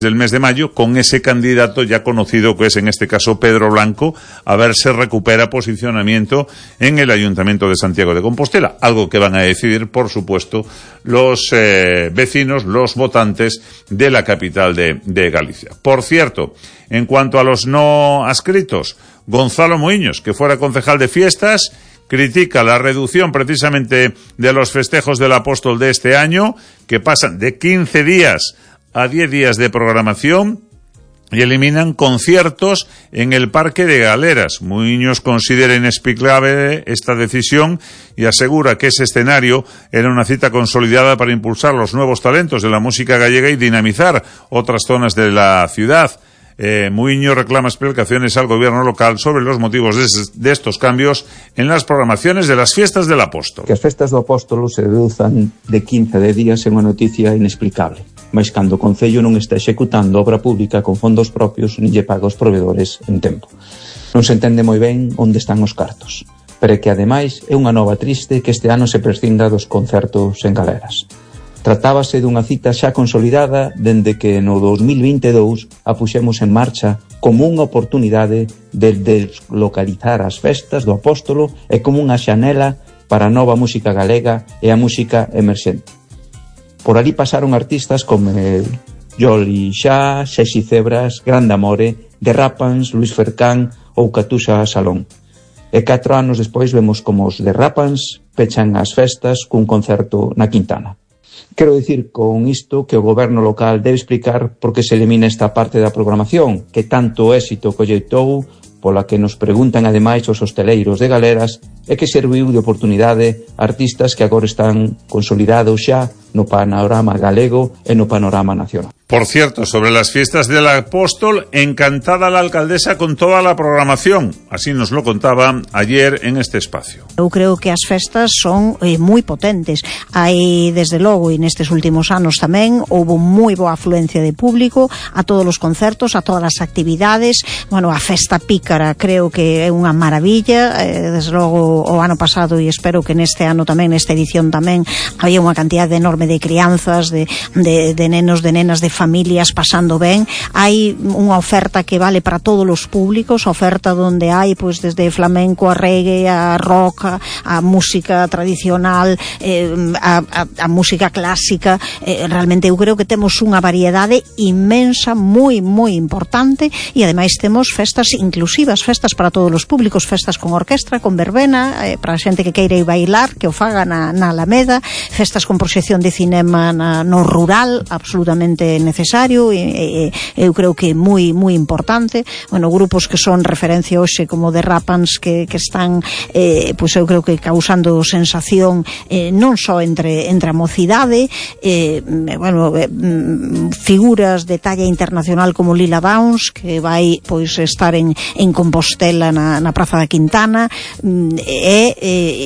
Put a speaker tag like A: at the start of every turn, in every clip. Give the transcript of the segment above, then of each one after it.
A: del mes de mayo, con ese candidato ya conocido que es en este caso Pedro Blanco, a ver si recupera posicionamiento en el Ayuntamiento de Santiago de Compostela, algo que van a decidir, por supuesto, los vecinos, los votantes de la capital de Galicia. Por cierto, en cuanto a los no adscritos, Gonzalo Muiños, que fuera concejal de fiestas, critica la reducción precisamente de los festejos del Apóstol de este año, que pasan de 15 días a 10 días de programación y eliminan conciertos en el Parque de Galeras. Muiños considera inexplicable esta decisión y asegura que ese escenario era una cita consolidada para impulsar los nuevos talentos de la música gallega y dinamizar otras zonas de la ciudad. Muiños reclama explicaciones al gobierno local sobre los motivos de estos cambios en las programaciones de las fiestas del Apóstol.
B: Que as festas do Apóstolo se reduzan de 15 a 10 días é unha noticia inexplicable, mas cando o Concello non está executando obra pública con fondos propios nin lle paga os provedores en tempo. Non se entende moi ben onde están os cartos, pero que ademais é unha nova triste que este ano se prescinda dos concertos en Galeras. Tratábase dunha cita xa consolidada dende que no 2022 a puxemos en marcha como unha oportunidade de deslocalizar as festas do Apóstolo e como unha xanela para a nova música galega e a música emerxente. Por ali pasaron artistas como Joli Xa, Xexi Cebras, Grande Amore, The Rapans, Luis Fercán ou Catuxa Salón. E 4 anos despois vemos como os The Rapans pechan as festas cun concerto na Quintana. Quero dicir con isto que o goberno local debe explicar por que se elimina esta parte da programación, que tanto éxito colleitou, pola que nos preguntan ademais os hosteleiros de Galeras, e que serviu de oportunidade a artistas que agora están consolidados xa no panorama galego e no panorama nacional.
A: Por cierto, sobre las fiestas del Apóstol, encantada la alcaldesa con toda la programación. Así nos lo contaba ayer en este espacio.
C: Eu creo que as festas son moi potentes. Hai, desde logo, e nestes últimos anos tamén, houve moi boa afluencia de público a todos os concertos, a todas as actividades. Bueno, a festa pícara creo que é unha maravilla. Desde logo, o ano pasado, e espero que neste ano tamén, nesta edición tamén, había unha cantidad enorme de crianzas, de nenos, de nenas, de familias pasando ben. Hai unha oferta que vale para todos os públicos, oferta onde hai pois desde flamenco a reggae, a rock, a música tradicional, a música clásica. Realmente eu creo que temos unha variedade inmensa, moi importante, e ademais temos festas inclusivas, festas para todos os públicos, festas con orquestra, con verbena, para a xente que queira ir bailar, que o faga na Alameda, festas con proxección de cinema no rural, absolutamente necesario, e eu creo que é moi importante. Bueno, grupos que son referencia hoxe como The Rapans que están pois eu creo que causando sensación non só entre a mocidade, bueno, figuras de talla internacional como Lila Downs, que vai pois estar en Compostela na Praza da Quintana,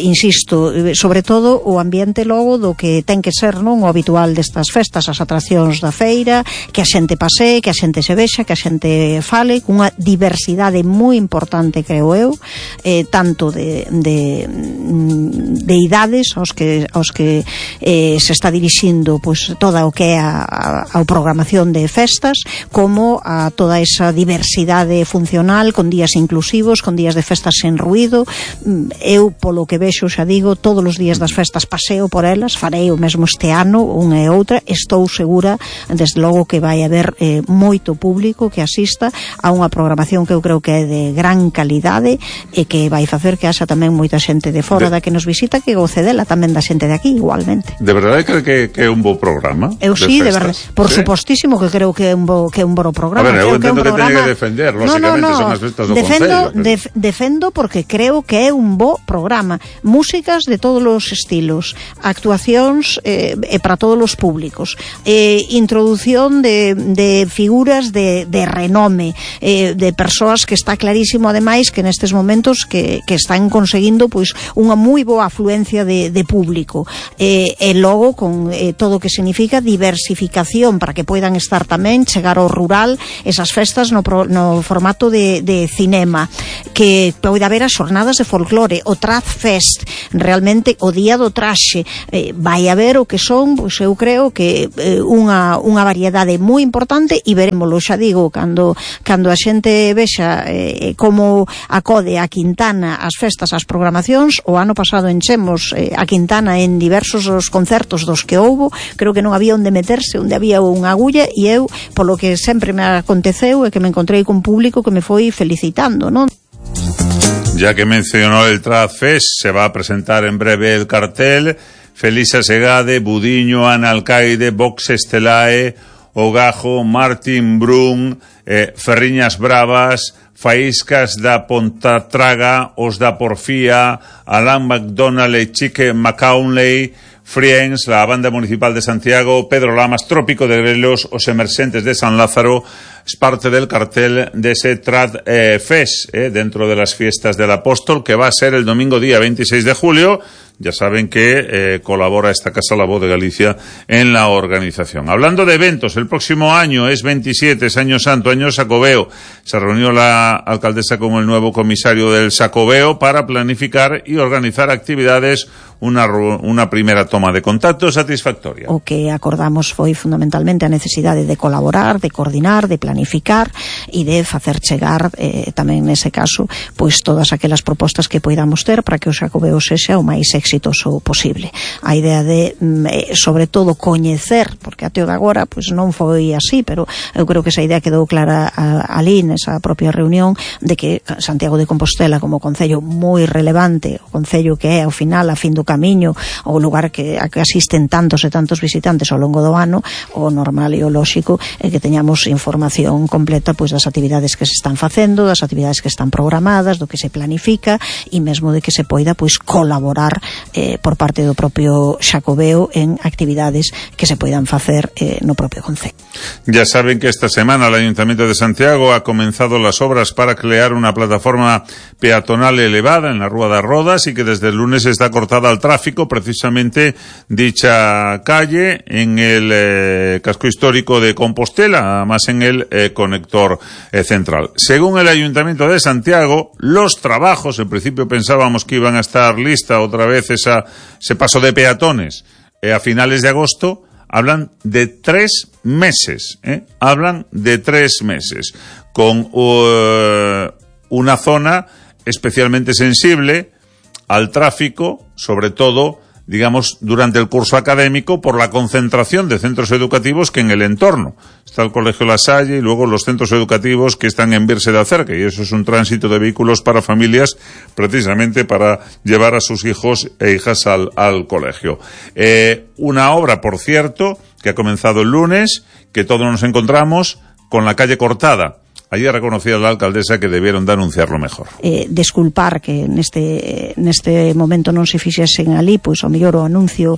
C: insisto, sobre todo o ambiente logo do que ten que ser non o habitual destas festas, as atraccións da feira, que a xente pasee, que a xente se vexa, que a xente fale, cunha diversidade moi importante, creo eu, tanto de idades aos que se está dirixindo pois toda o que é a programación de festas, como a toda esa diversidade funcional, con días inclusivos, con días de festas sen ruído. Eu, polo que vexo, xa digo, todos os días das festas paseo por elas, farei o mesmo este ano, unha e outra. Estou segura, desde logo, que vai haber moito público que asista a unha programación que eu creo que é de gran calidade e que vai facer que haxa tamén moita xente de fora da que nos visita, que goce dela tamén da xente de aquí igualmente.
A: De verdade que é un bo programa?
C: Eu sí, de verdade. Por supostísimo que creo que é un bo programa.
A: A ver, eu entendo que teña que defender, lógicamente, son as festas do Concello.
C: Defendo porque creo que é un bo programa. Músicas de todos os estilos, actuacións para todos os públicos, introdución de figuras de renome, de persoas que está clarísimo ademais que nestes momentos que están conseguindo pois unha moi boa afluencia de público, e logo con todo o que significa diversificación para que poidan estar tamén, chegar ao rural, esas festas no formato de cinema, que pode haber as xornadas de folclore, o Traz Fest, realmente o día do traxe, vai haber o que son, pois eu creo que unha variedade moi importante e verémoslo, xa digo, cando a xente vexa como acode a Quintana as festas, as programacións. O ano pasado enchemos a Quintana en diversos os concertos dos que houbo, creo que non había onde meterse, onde había unha agulla, e eu, polo que sempre me aconteceu, é que me encontrei con público que me foi felicitando, non?
A: Ya que mencionó el Trad Fest, se va a presentar en breve el cartel. Felisa Segade, Budiño, Ana Alcaide, Vox Estelae, Ogajo, Martin Brun, Ferriñas Bravas, Faíscas da Pontatraga, Os da Porfía, Alan McDonald e Chique Macaulay, Friends, la Banda Municipal de Santiago, Pedro Lamas, Trópico de Grelos, Os Emerxentes de San Lázaro. Es parte del cartel de ese Trad Fest, dentro de las fiestas del Apóstol, que va a ser el domingo día 26 de julio. Ya saben que colabora esta casa, La Voz de Galicia, en la organización. Hablando de eventos, el próximo año es 27, es Año Santo, Año Xacobeo. Se reunió la alcaldesa con el nuevo comisario del Xacobeo para planificar y organizar actividades, una primera toma de contacto satisfactoria.
C: O que acordamos foi fundamentalmente a necesidade de colaborar, de coordinar, de planificar e de facer chegar tamén nese caso pois todas aquelas propostas que poidamos ter para que o Xacobeo sexa o máis exitoso posible. A idea de sobre todo coñecer, porque até agora pois non foi así, pero eu creo que esa idea quedou clara ali nesa propia reunión de que Santiago de Compostela como concello moi relevante, o concello que é ao final a fin do camiño, o lugar a que asisten tantos e tantos visitantes ao longo do ano, o normal e o lóxico é que teñamos información completa pois das actividades que se están facendo, das actividades que están programadas, do que se planifica e mesmo de que se poida pois colaborar por parte do propio Xacobeo en actividades que se poidan facer no propio concello.
A: Ya saben que esta semana el Ayuntamiento de Santiago ha comenzado las obras para crear una plataforma peatonal elevada en la Rúa das Rodas y que desde el lunes está cortada al tráfico precisamente dicha calle en el casco histórico de Compostela, además en el conector central. Según el Ayuntamiento de Santiago, los trabajos, en principio pensábamos que iban a estar lista otra vez ese paso de peatones a finales de agosto, hablan de 3 meses, hablan de 3 meses, con una zona especialmente sensible al tráfico, sobre todo, digamos, durante el curso académico, por la concentración de centros educativos que en el entorno. Está el Colegio La Salle y luego los centros educativos que están en Birse da Cerca, y eso es un tránsito de vehículos para familias, precisamente para llevar a sus hijos e hijas al colegio. Una obra, por cierto, que ha comenzado el lunes, que todos nos encontramos con la calle cortada. Allí reconocía la alcaldesa que debieron de anunciarlo mejor.
C: Desculpar que neste momento non se fixesen ali, pois o mellor o anuncio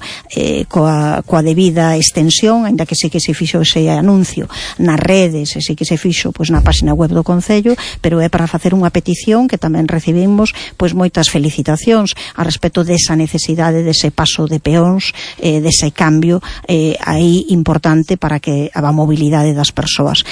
C: coa debida extensión, ainda que sí que se fixo ese anuncio nas redes, e sí que se fixo pois na página web do Concello, pero é para facer unha petición que tamén recibimos pois moitas felicitacións a respecto desa necesidade dese paso de peóns, dese cambio aí importante para que a mobilidade das persoas.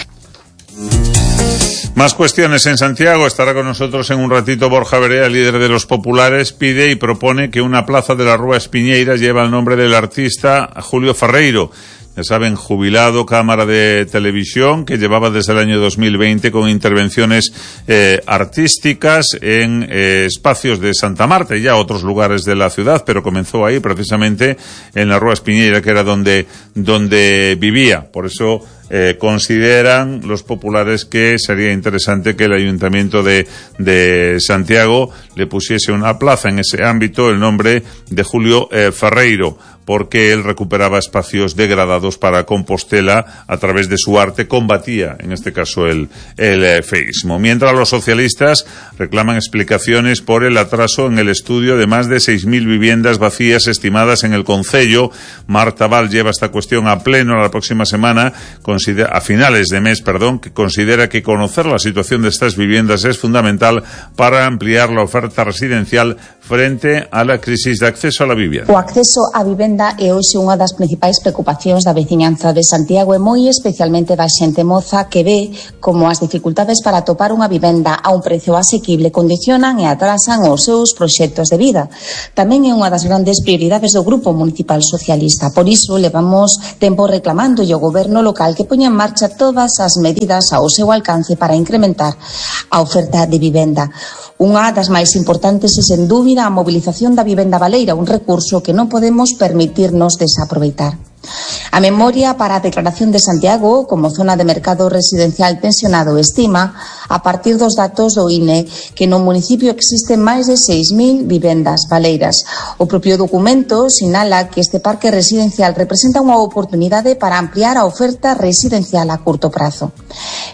A: Más cuestiones en Santiago. Estará con nosotros en un ratito Borja Berea, líder de los populares. Pide y propone que una plaza de la Rúa Espiñeiras lleve el nombre del artista Julio Ferreiro. Ya saben, jubilado, cámara de televisión, que llevaba desde el año 2020 con intervenciones artísticas en espacios de Santa Marta y ya otros lugares de la ciudad, pero comenzó ahí precisamente en la Rúa Espiñeira, que era donde vivía. Por eso consideran los populares que sería interesante que el Ayuntamiento de Santiago le pusiese una plaza en ese ámbito, el nombre de Julio Ferreiro, porque él recuperaba espacios degradados para Compostela a través de su arte, combatía, en este caso, el feísmo. Mientras los socialistas reclaman explicaciones por el atraso en el estudio de más de 6.000 viviendas vacías estimadas en el concello. Marta Val lleva esta cuestión a pleno la próxima semana, a finales de mes, que considera que conocer la situación de estas viviendas es fundamental para ampliar la oferta residencial frente a la crisis de acceso a la vivienda.
D: O acceso á vivenda é hoxe unha das principais preocupacións da veciñanza de Santiago e moi especialmente da xente moza que ve como as dificultades para atopar unha vivenda a un precio asequible condicionan e atrasan os seus proxectos de vida. Tamén é unha das grandes prioridades do Grupo Municipal Socialista. Por iso levamos tempo reclamando ao goberno local que poña en marcha todas as medidas ao seu alcance para incrementar a oferta de vivenda. Unha das máis importantes é, sen dúbida, a mobilización da vivenda baleira, un recurso que non podemos permitirnos desaproveitar. A memoria para a declaración de Santiago como zona de mercado residencial tensionado estima, a partir dos datos do INE, que no municipio existen máis de 6.000 vivendas baleiras. O propio documento sinala que este parque residencial representa unha oportunidade para ampliar a oferta residencial a curto prazo.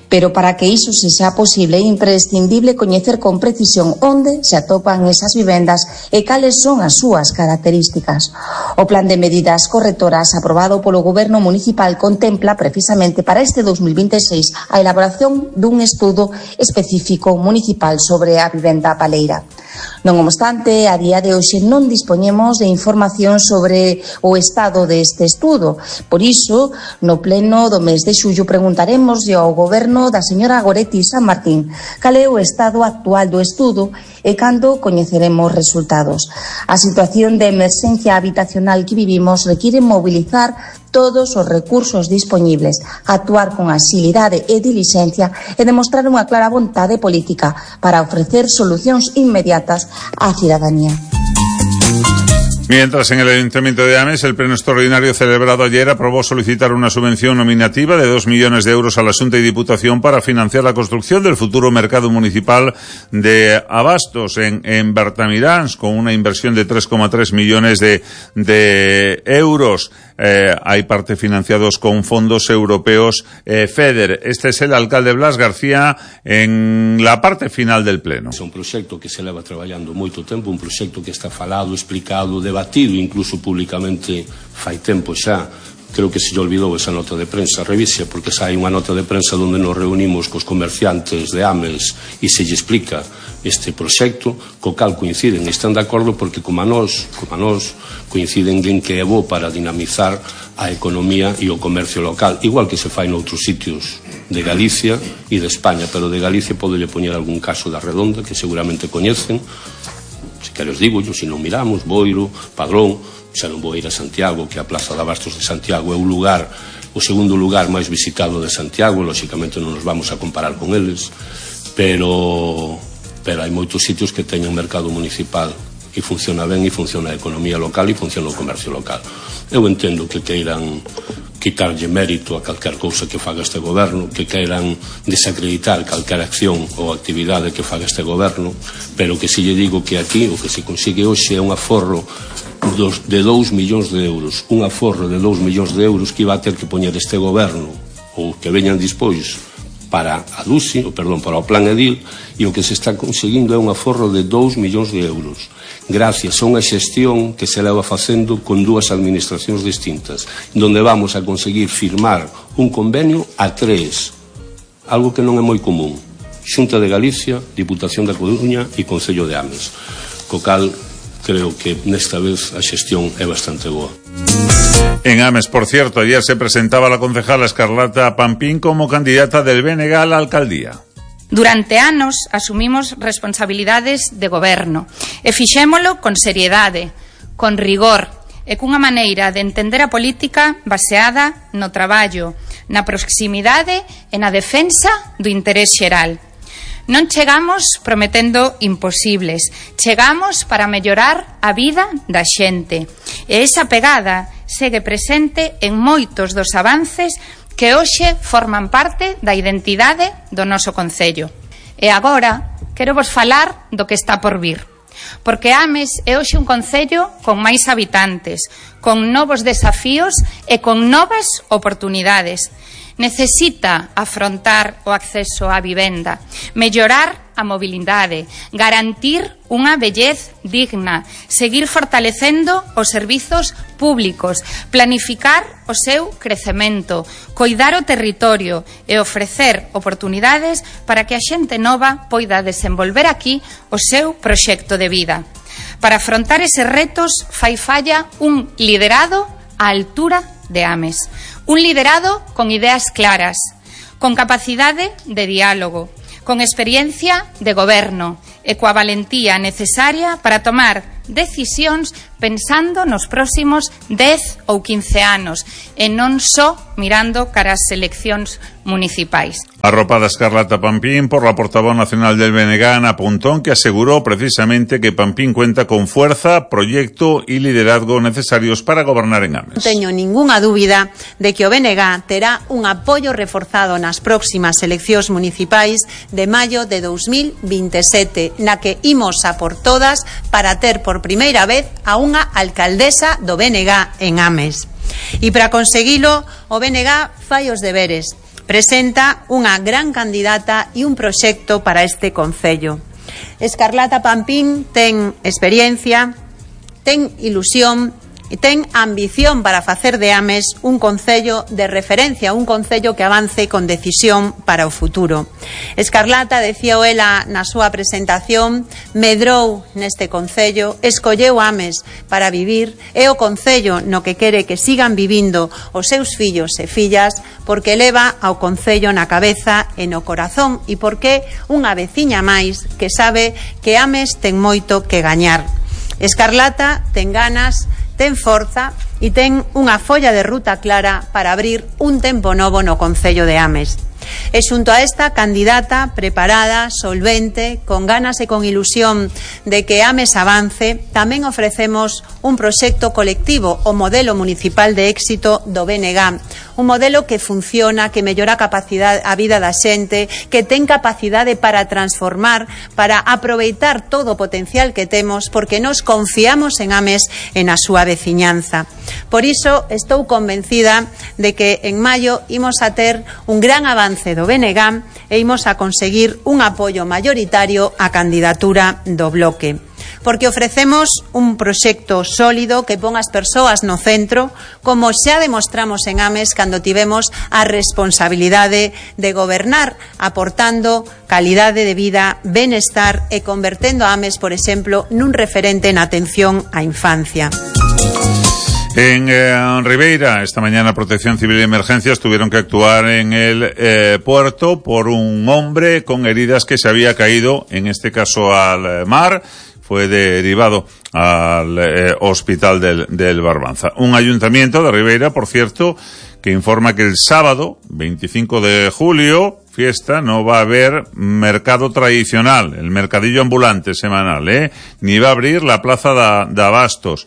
D: Pero para que iso se xa posible é imprescindible coñecer con precisión onde se atopan esas vivendas e cales son as súas características. O plan de medidas correctoras aprobado polo Goberno Municipal contempla precisamente para este 2026 a elaboración dun estudo específico municipal sobre a vivenda baleira. Non obstante, a día de hoxe non dispoñemos de información sobre o estado deste estudo. Por iso, no pleno do mes de xullo preguntaremos ao Goberno da señora Goretti San Martín cal é o estado actual do estudo e cando coñeceremos resultados. A situación de emerxencia habitacional que vivimos require mobilizar todos os recursos dispoñibles, actuar con axilidade e dilixencia e demostrar unha clara vontade política para ofrecer solucións inmediatas á cidadanía.
A: Mientras, en el Ayuntamiento de Ames, el pleno extraordinario celebrado ayer aprobó solicitar una subvención nominativa de 2 millones de euros a la Xunta y Diputación para financiar la construcción del futuro mercado municipal de abastos en Bertamiráns, con una inversión de 3,3 millones de euros. Hay parte financiados con fondos europeos FEDER. Este es el alcalde Blas García en la parte final del pleno.
E: É un proxecto que se leva traballando moito tempo, un proxecto que está falado, explicado, debatido, incluso públicamente fai tempo xa. Creo que se lle olvidou esa nota de prensa, revise, porque xa hai unha nota de prensa onde nos reunimos cos comerciantes de Ames e se lle explica este proxecto, co cal coinciden e están de acordo porque como a nós coinciden en que é bo para dinamizar a economía e o comercio local, igual que se fai noutros sitios de Galicia e de España, pero de Galicia podelle poñer algún caso da Redonda que seguramente coñecen, se queres digo yo, se non miramos, Boiro, Padrón, xa non vou ir a Santiago, que a Plaza de Abastos de Santiago é o segundo lugar máis visitado de Santiago, lóxicamente non nos vamos a comparar con eles, pero hai moitos sitios que teñen mercado municipal e funciona ben, e funciona a economía local e funciona o comercio local. Eu entendo que queiran quitarlle mérito a calquer cousa que faga este goberno, que queiran desacreditar calquer acción ou actividade que faga este goberno, pero que se lle digo que aquí o que se consigue hoxe é un aforro de 2 millóns de euros, un aforro de 2 millóns de euros que iba a ter que poñer este goberno ou que veñan dispois para a DUSI, para o Plan Edil, e o que se está conseguindo é un aforro de 2 millóns de euros, gracias a unha xestión que se leva facendo con dúas administracións distintas, donde vamos a conseguir firmar un convenio a 3, algo que non é moi común, Xunta de Galicia, Diputación da Coruña e Concello de Ames, co cal creo que nesta vez a xestión é bastante boa.
A: En Ames, por cierto, ayer se presentaba la concejala Escarlata Pampín como candidata del BNG a la alcaldía.
F: Durante anos asumimos responsabilidades de goberno e fixémolo con seriedade, con rigor e cunha maneira de entender a política baseada no traballo, na proximidade e na defensa do interés xeral. Non chegamos prometendo imposibles, chegamos para mellorar a vida da xente. E esa pegada segue presente en moitos dos avances que hoxe forman parte da identidade do noso concello. E agora quero vos falar do que está por vir. Porque Ames é hoxe un concello con máis habitantes, con novos desafíos e con novas oportunidades. Necesita afrontar o acceso á vivenda, mellorar a mobilidade, garantir unha vellez digna, seguir fortalecendo os servizos públicos, planificar o seu crecemento, coidar o territorio e ofrecer oportunidades para que a xente nova poida desenvolver aquí o seu proxecto de vida. Para afrontar eses retos fai falla un liderado á altura de Ames. Un liderado con ideas claras, con capacidade de diálogo, con experiencia de goberno e coa valentía necesaria para tomar decisións pensando nos próximos 10 ou 15 anos e non só mirando cara ás eleccións municipais.
A: Arropada Escarlata Pampín por la portavoz nacional del BNG, Ana Pontón, que aseguró precisamente que Pampín cuenta con fuerza, proyecto y liderazgo necesarios para gobernar en Ames.
G: Non teño ningunha dúbida de que o BNG terá un apoio reforzado nas próximas eleccións municipais de maio de 2027, na que imos a por todas para ter por primeira vez a unha alcaldesa do BNG en Ames. E para conseguilo, o BNG fai os deberes. Presenta unha gran candidata e un proxecto para este concello. Escarlata Pampín ten experiencia, ten ilusión e ten ambición para facer de Ames un concello de referencia, un concello que avance con decisión para o futuro. Escarlata, decíao ela na súa presentación, medrou neste concello, escolleu Ames para vivir, é o concello no que quere que sigan vivindo os seus fillos e fillas, porque leva ao concello na cabeza e no corazón e porque unha veciña máis que sabe que Ames ten moito que gañar. Escarlata ten ganas, ten forza e ten unha folla de ruta clara para abrir un tempo novo no concello de Ames. E xunto a esta candidata preparada, solvente, con ganas e con ilusión de que Ames avance, tamén ofrecemos un proxecto colectivo, o modelo municipal de éxito do BNG, un modelo que funciona, que mellora a vida da xente, que ten capacidade para transformar, para aproveitar todo o potencial que temos, porque nos confiamos en Ames e na súa veciñanza. Por iso estou convencida de que en maio imos a ter un gran avance do BNG e imos a conseguir un apoio maioritario á candidatura do bloque. Porque ofrecemos un proxecto sólido que pon as persoas no centro, como xa demostramos en Ames cando tivemos a responsabilidade de gobernar, aportando calidade de vida, benestar e convertendo a Ames, por exemplo, nun referente na atención á infancia.
A: En Ribeira, esta mañana Protección Civil y Emergencias tuvieron que actuar en el puerto por un hombre con heridas que se había caído, en este caso al mar. Fue derivado al hospital del Barbanza. Un ayuntamiento de Ribeira, por cierto, que informa que el sábado, 25 de julio, fiesta, no va a haber mercado tradicional, el mercadillo ambulante semanal, ni va a abrir la plaza de Abastos.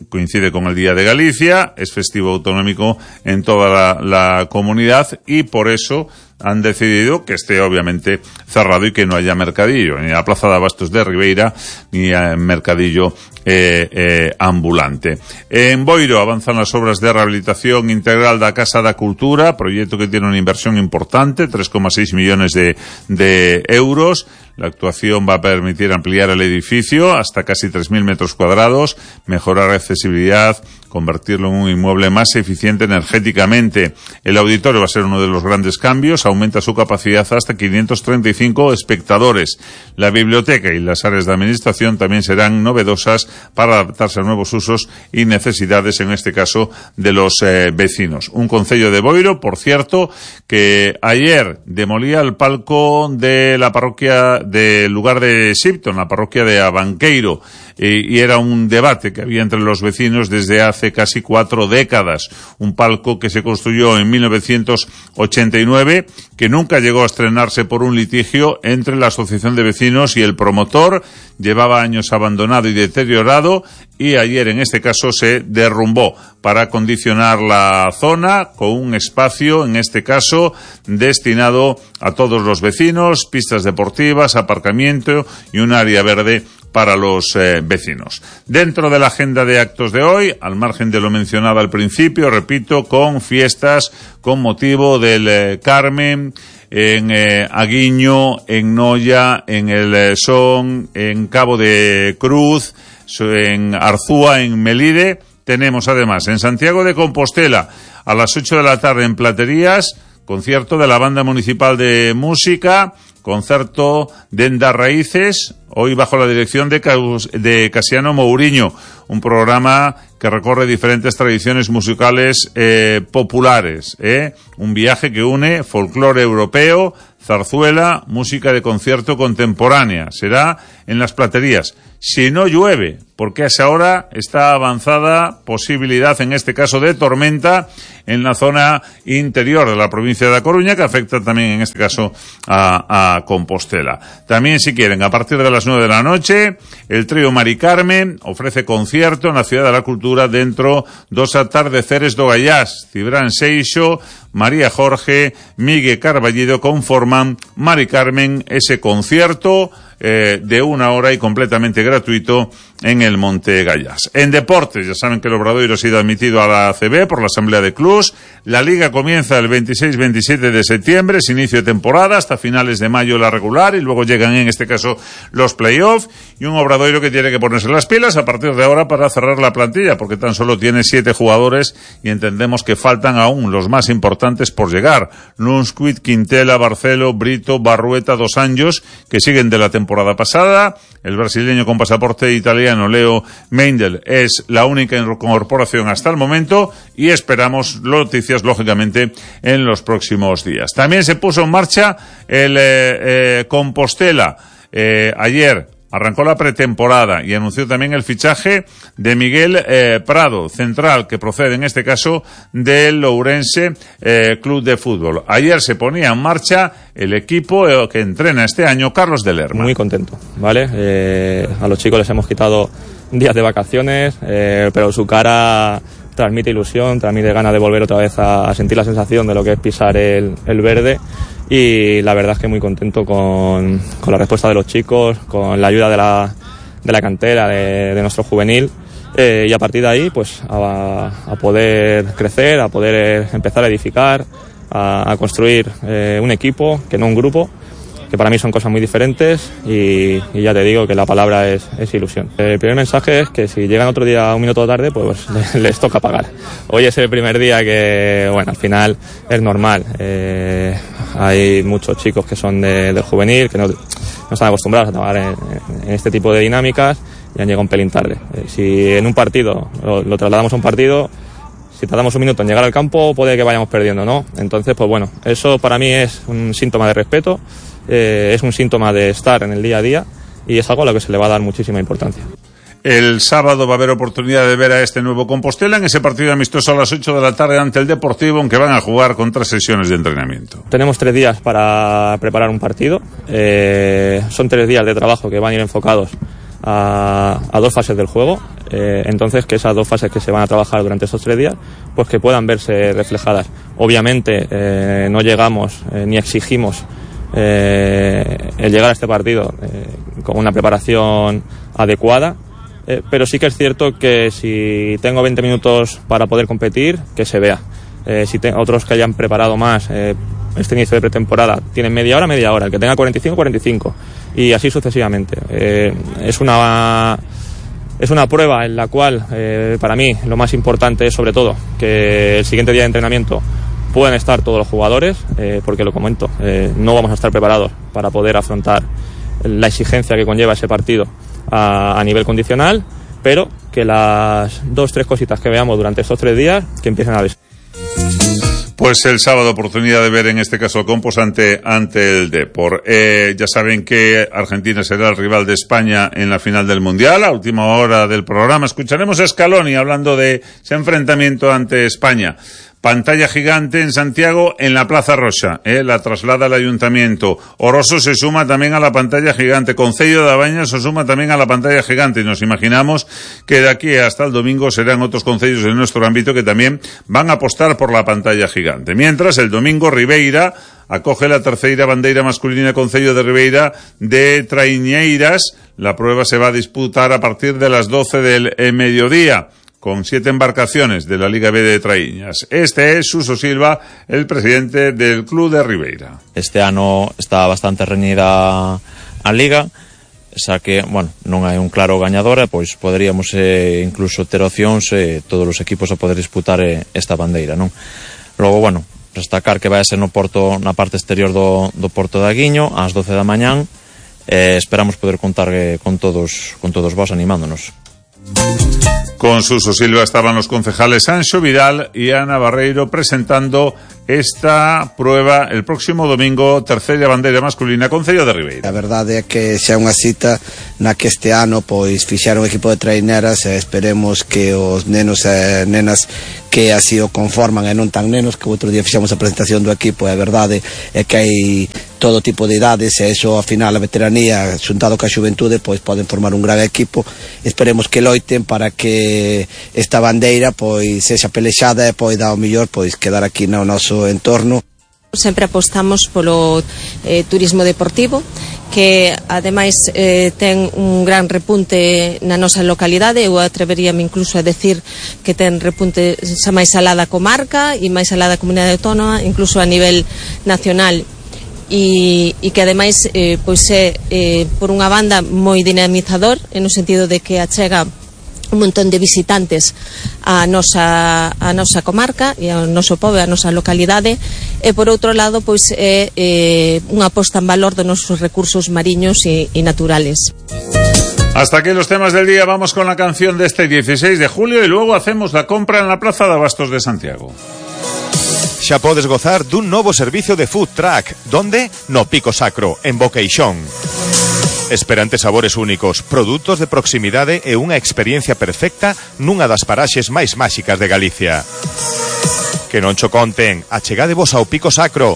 A: Coincide con el Día de Galicia, es festivo autonómico en toda la comunidad y por eso han decidido que esté obviamente cerrado y que no haya mercadillo, ni a la Plaza de Abastos de Ribeira, ni a mercadillo ambulante. En Boiro avanzan las obras de rehabilitación integral da Casa da Cultura, proyecto que tiene una inversión importante, 3,6 millones de euros. La actuación va a permitir ampliar el edificio hasta casi 3.000 metros cuadrados, mejorar la accesibilidad, convertirlo en un inmueble más eficiente energéticamente. El auditorio va a ser uno de los grandes cambios, aumenta su capacidad hasta 535 espectadores. La biblioteca y las áreas de administración también serán novedosas para adaptarse a nuevos usos y necesidades, en este caso, de los vecinos. Un concello de Boiro, por cierto, que ayer demolía el palco de la parroquia del lugar de Sipton, la parroquia de Abanqueiro, y era un debate que había entre los vecinos desde hace casi 4 décadas. Un palco que se construyó en 1989, que nunca llegó a estrenarse por un litigio entre la asociación de vecinos y el promotor. Llevaba años abandonado y deteriorado, y ayer en este caso se derrumbó para acondicionar la zona con un espacio, en este caso, destinado a todos los vecinos, pistas deportivas, aparcamiento y un área verde para los vecinos. Dentro de la agenda de actos de hoy, al margen de lo mencionado al principio, repito, con fiestas con motivo del Carmen, en Aguiño, en Noia, en el Son, en Cabo de Cruz, en Arzúa, en Melide. Tenemos además en Santiago de Compostela a las 8 de la tarde en Platerías, concierto de la Banda Municipal de Música, concierto de Enda Raíces, hoy bajo la dirección de Casiano Mourinho, un programa que recorre diferentes tradiciones musicales populares, un viaje que une folclore europeo, zarzuela, música de concierto contemporánea. Será en Las Platerías. Si no llueve, porque a esa hora está avanzada posibilidad, en este caso, de tormenta en la zona interior de la provincia de A Coruña, que afecta también, en este caso, a Compostela. También, si quieren, a partir de las 9 de la noche, el trío Mari Carmen ofrece concierto en la Ciudad de la Cultura dentro dos atardeceres do Gallás. Cibrán Seixo, María Jorge, Miguel Carballido conforman Mari Carmen, ese concierto de 1 hora y completamente gratuito en el Monte Gallás. En deportes, ya saben que el Obradoiro ha sido admitido a la ACB por la Asamblea de Clubs. La Liga comienza el 26-27 de septiembre, es inicio de temporada, hasta finales de mayo la regular, y luego llegan, en este caso, los playoffs, y un Obradoiro que tiene que ponerse las pilas a partir de ahora para cerrar la plantilla, porque tan solo tiene 7 jugadores y entendemos que faltan aún los más importantes por llegar. Lunsquit, Quintela, Barcelo, Brito, Barrueta, Dos Anjos, que siguen de la temporada pasada. El brasileño con pasaporte italiano, Leo Meindl, es la única incorporación hasta el momento, y esperamos noticias, lógicamente, en los próximos días. También se puso en marcha el Compostela. Ayer arrancó la pretemporada y anunció también el fichaje de Miguel Prado, central, que procede en este caso del Ourense Club de Fútbol. Ayer se ponía en marcha el equipo que entrena este año Carlos de Lerma.
H: Muy contento, ¿vale? A los chicos les hemos quitado días de vacaciones, pero su cara transmite ilusión, transmite ganas de volver otra vez a sentir la sensación de lo que es pisar el verde. Y la verdad es que muy contento con la respuesta de los chicos, con la ayuda de la cantera, de nuestro juvenil, y a partir de ahí pues a poder crecer, a poder empezar a edificar, a construir un equipo, que no un grupo, que para mí son cosas muy diferentes, y ya te digo que la palabra es ilusión. El primer mensaje es que si llegan otro día un minuto tarde, pues les toca pagar. Hoy es el primer día que, bueno, al final es normal. Hay muchos chicos que son del juvenil, que no están acostumbrados a trabajar en este tipo de dinámicas, y han llegado un pelín tarde. Si en un partido lo trasladamos a un partido, si tardamos un minuto en llegar al campo, puede que vayamos perdiendo, ¿no? Entonces, pues bueno, eso para mí es un síntoma de respeto, es un síntoma de estar en el día a día, y es algo a lo que se le va a dar muchísima importancia.
A: El sábado va a haber oportunidad de ver a este nuevo Compostela en ese partido amistoso a las 8 de la tarde ante el Deportivo, aunque van a jugar con 3 sesiones de entrenamiento.
H: Tenemos 3 días para preparar un partido. Son 3 días de trabajo que van a ir enfocados a 2 fases del juego. Entonces, que esas 2 fases que se van a trabajar durante esos 3 días, pues que puedan verse reflejadas. Obviamente no llegamos ni exigimos el llegar a este partido con una preparación adecuada, pero sí que es cierto que si tengo 20 minutos para poder competir, que se vea. Si otros que hayan preparado más este inicio de pretemporada tienen media hora, el que tenga 45, y así sucesivamente. Es una prueba en la cual para mí lo más importante es, sobre todo, que el siguiente día de entrenamiento puedan estar todos los jugadores, porque lo comento, no vamos a estar preparados para poder afrontar la exigencia que conlleva ese partido a nivel condicional, pero que las 2-3 cositas que veamos durante estos 3 días, que empiecen a ver.
A: Pues el sábado oportunidad de ver en este caso el Compos ante el Depor. Ya saben que Argentina será el rival de España en la final del Mundial. A última hora del programa escucharemos a Scaloni hablando de ese enfrentamiento ante España. Pantalla gigante en Santiago, en la Plaza Roxa, la traslada al Ayuntamiento. Oroso se suma también a la pantalla gigante. Concello de Abaña se suma también a la pantalla gigante. Y nos imaginamos que de aquí hasta el domingo serán otros concellos en nuestro ámbito que también van a apostar por la pantalla gigante. Mientras, el domingo Ribeira acoge la terceira bandeira masculina Concello de Ribeira de Traiñeiras. La prueba se va a disputar a partir de las 12 del mediodía, con 7 embarcaciones de la Liga B de Traíñas. Este es Suso Silva, el presidente del Club de Ribeira.
I: Este ano está bastante reñida a Liga, xa que, bueno, non hai un claro gañador, pois poderíamos incluso ter opcións todos os equipos a poder disputar esta bandeira, non? Logo, bueno, destacar que vai a ser no porto, na parte exterior do Porto de Aguiño, ás 12 da mañán, esperamos poder contar con todos vos animándonos.
A: Con Suso Silva estaban los concejales Anxo Vidal y Ana Barreiro presentando esta prueba el próximo domingo, terceira bandeira masculina Concello de Ribeira.
J: A verdade é que xa é unha cita na que este ano pois fixaron un equipo de traineras e esperemos que os nenos e nenas que así o conforman e non tan nenos, que outro día fixamos a presentación do equipo, e a verdade é que hai todo tipo de idades e iso ao final a veteranía xuntado ca xuventude pois poden formar un gran equipo. Esperemos que loiten para que esta bandeira pois sexa pelexada e poida ao mellor pois quedar aquí no noso entorno.
K: Sempre apostamos polo turismo deportivo, que ademais ten un gran repunte na nosa localidade. Eu atreveríame incluso a decir que ten repunte xa máis alá da comarca e máis alá da comunidade autónoma, incluso a nivel nacional. E que ademais pois é por unha banda moi dinamizador, no sentido de que achega un montón de visitantes a nosa comarca e ao noso pobo, a nosa localidade, e por outro lado pois é unha posta en valor dos nosos recursos mariños e naturales.
A: Hasta aquí los temas del día. Vamos con la canción de este 16 de julio y luego hacemos la compra en la Plaza de Abastos de Santiago.
L: Xa podes gozar dun novo servicio de food truck. Donde? No Pico Sacro, en Boqueixón. Esperantes sabores únicos, produtos de proximidade e unha experiencia perfecta nunha das paraxes máis máxicas de Galicia. Que non cho conten, achegadevos ao Pico Sacro.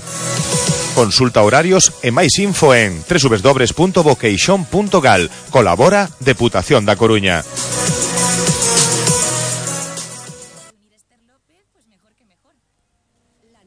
L: Consulta horarios e máis info en www.boqueixón.gal. Colabora Deputación da Coruña.